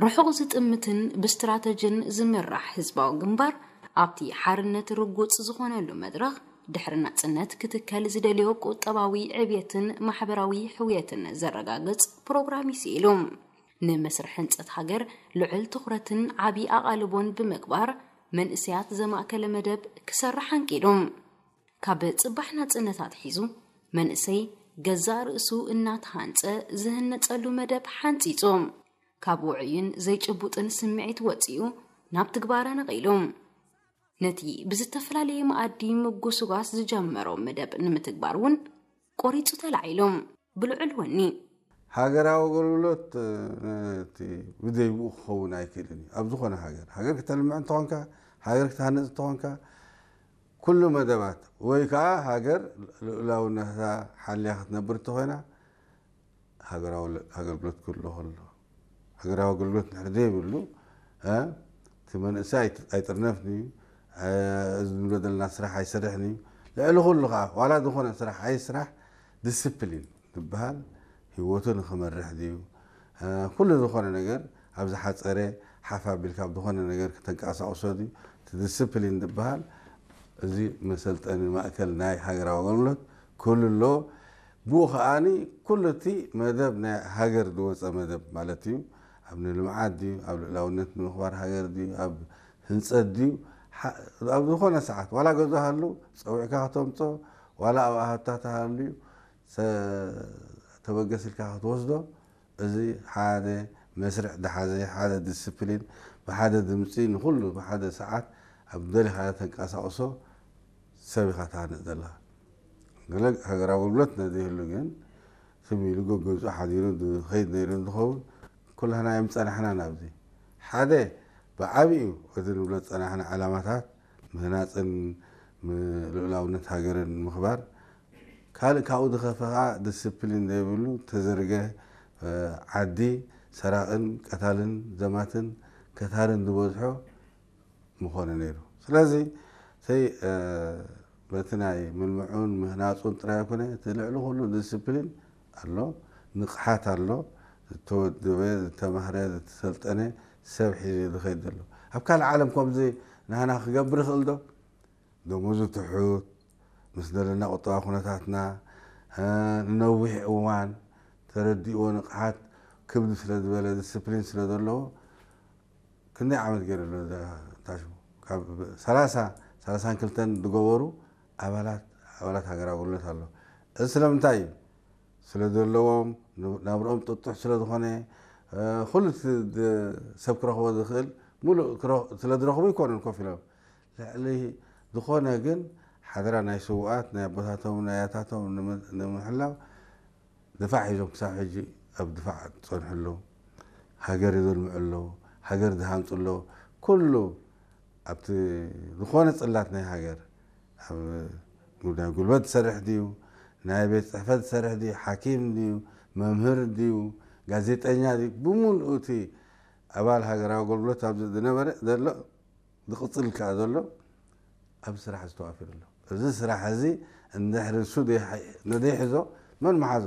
ርሑቕ ዝጥምትን ብስትራተጅን ዝምራሕ ህዝባዊ ግንባር ኣብቲ ሓርነት ርጉጽ ዝኾነሉ መድረኽ ድሕሪ ናጽነት ክትከል ዝደልዮ ቁጠባዊ ዕብየትን ማሕበራዊ ሕውየትን ዘረጋግጽ ፕሮግራም እዩ ስኢሉ። ንመስርሕ ህንጸት ሃገር ልዑል ትኹረትን ዓቢ ኣቓልቦን ብምግባር መንእሰያት ዘማእከለ መደብ ክሰርሕ ኣንቂዱ። ካብ ጽባሕ ናጽነት ኣትሒዙ መንእሰይ ገዛእ ርእሱ እናተሃንጸ ዝህነጸሉ መደብ ሓንጺጹ። ካብ ውዑይን ዘይጭቡጥን ስምዒት ወጺኡ ናብ ትግባረ ነቒሉ። ነቲ ብዝተፈላለየ መኣዲ ምጉስጓስ ዝጀመሮ መደብ ንምትግባር እውን ቆሪጹ ተላዒሉ። ብልዑል ወኒ። ሃገራዊ ኣገልግሎት እቲ ብዘይብኡ ክኸውን ኣይክእልን እዩ። ኣብ ዝኾነ ሃገር ሃገር ክተልምዕ እንተኾንካ፣ ሃገር ክትሃንፅ እንተኾንካ፣ ኩሉ መደባት ወይ ከዓ ሃገር ልኡላውነታ ሓልያ ክትነብር እንተኾይና ሃገራዊ ኣገልግሎት ክህሉ ከሎ፣ ሃገራዊ ኣገልግሎት ንድሕር ዘይብሉ እቲ መንእሰይ ኣይጥርነፍን እዩ። እዚ ንብሎ ዘለና ስራሕ ኣይሰርሕን እዩ። ልዕሊ ኩሉ ከዓ ዋላ ዝኾነ ስራሕ ኣይስራሕ ዲስፕሊን ዝበሃል ህይወቱ ንክመርሕ ድዩ፣ ኩሉ ዝኾነ ነገር ኣብ ዝሓፀረ ሓፍ ኣቢልካ ኣብ ዝኾነ ነገር ክተንቀሳቕሶ ድዩ፣ እቲ ዲስፕሊን ዝበሃል እዚ መሰልጠኒ ማእከል ናይ ሃገራዊ ኣገልግሎት ክህሉ ኣለዎ። ብኡ ከዓኒ ኩሉ እቲ መደብ ናይ ሃገር ዝወፀ መደብ ማለት እዩ። ኣብ ንልምዓት ድዩ፣ ኣብ ልእላውነት ንምኽባር ሃገር ድዩ፣ ኣብ ህንፀት ድዩ፣ ኣብ ዝኾነ ሰዓት ዋላ ገዛ ሃሉ ፀዊዕካ ክተምፆ ዋላ ኣብ ኣሃታ ተሃልዩ ተበገስ ኢልካ ክትወስዶ፣ እዚ ሓደ መስርዕ ዝሓዘ፣ ሓደ ዲስፕሊን፣ ብሓደ ድምፂ ንኩሉ ብሓደ ሰዓት ኣብ ደሊኻ ተንቀሳቕሶ ሰብ ኢኻ ትሃንፅ ዘለኻ። ገለ ሃገራዊ ኣገልግሎት ነዘይህሉ ግን ስም ኢሉ ገገዝኡ ሓዲሩ ዝኸይድ ነይሩ እንትኸውን ኩላህና እዮም ጸናሕና ናብዚ። ሓደ ብዓቢኡ እቲ ንብሎ ዝጸናሕና ዕላማታት ምህናፅን ልኡላውነት ሃገርን ምኽባር፣ ካልእ ካብኡ ዝኸፈ ከዓ ዲስፕሊን ዘይብሉ ተዘርገ ዓዲ ሰራቕን ቀታልን ዘማትን ከታርን ዝበዝሖ ምኾነ ነይሩ። ስለዚ ሰይ በቲ ናይ ምልምዑን ምህናፁን ጥራይ ኣይኮነ፣ እቲ ልዕሊ ኩሉ ዲስፕሊን ኣሎ፣ ንቕሓት ኣሎ፣ ዝተወደበ ዝተማህረ ዝተሰልጠነ ሰብ ሒዙ ዝኸይድ ዘሎ። ኣብ ካልእ ዓለም ከምዚ ናህና ክገብር ይኽእል ዶ? ደሞዙ ትሑት ምስ ዘለና ቁጠባ ኩነታትና ንነዊሕ እዋን ተረዲእዎ ንቕሓት ክብድ ስለ ዝበለ ዲስፕሊን ስለ ዘለዎ ክንደይ ዓመት ገይሩ ኣሎ ታሽሙ ካብ ሰላሳ ሰላሳን ክልተን ዝገበሩ ኣባላት ኣባላት ሃገራዊ ኣገልግሎት ኣሎ። እዚ ስለምንታይ እዩ? ስለ ዘለዎም ናብርኦም ጥጡሕ ስለ ዝኾነ ኩሉ ሰብ ክረኽቦ ዝኽእል ሙሉእ ስለ ዝረኽቡ ይኮኑን ኮፍ ኢሎም ልዕሊ ዝኾነ ግን ሓደራ ናይ ስውኣት ናይ ኣቦታቶም ናይ ኣያታቶም ንምሕላው ድፋዕ ሒዞም ክሳብ ሕጂ ኣብ ድፋዕ ዝፀንሑ ኣለዉ። ሃገር የዘልምዑ ኣለዉ። ሃገር ዝሃንፁ ኣለዉ። ኩሉ ኣብቲ ዝኾነ ፅላት ናይ ሃገር ኣብ ናይ ጉልበት ዝሰርሕ ድዩ፣ ናይ ቤት ፅሕፈት ዝሰርሕ ድዩ፣ ሓኪም ድዩ፣ መምህር ድዩ፣ ጋዜጠኛ ድዩ፣ ብምሉኡ እቲ ኣባል ሃገራዊ ኣገልግሎት ኣብዚ ዝነበረ ዘሎ ዝቕፅል ከኣ ዘሎ ኣብዚ ስራሕ ዝተዋፊሩ ኣሎ። እዚ ስራሕ እዚ እንድሕሪ እሱ ነዘይሕዞ መን መሓዞ?